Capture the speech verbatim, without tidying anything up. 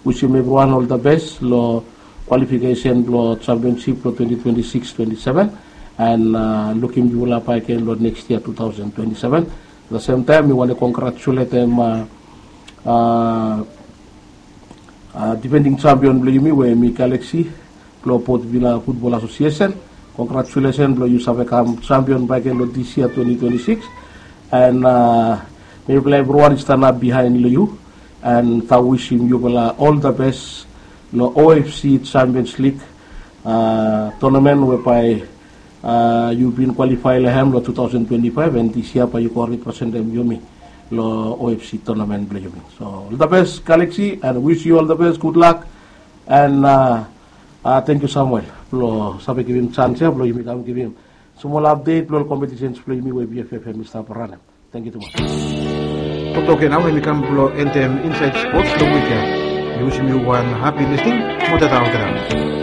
Wisim evriwan ol the best lo kwalifikesen blo championship blo twenty twenty-six twenty-seven, and lukim yufala bakegen lo next year two thousand twenty-seven. The same time mi wantem congratulatem defending champion blo yumi we mi Galaxy blo Port Vila Football Association. Congratulations blo yu save kam champion bakegen lo this year twenty twenty-six. And mifala evriwan i stanap bihain lo yu, and tau wisim yufala ol the best lo OFC Champions League tournament we bae yu bin qualify lo hem lo two thousand twenty-five, and this year bae yu go representem yumi lo OFC tournament blo yumi. So ol the best Galaxy, and wish you all the best, good luck. And thank you Samuel blo save givim chance ya blo yumi kam givim smol update blo ol competitions blo yumi we BFFM i stap ranem. Thank you tumas. Toktok ya nao hemi kam blo entem Inside Sports lo wik ya. Mi wisim yu wan happy listening. Mo tata olgeta.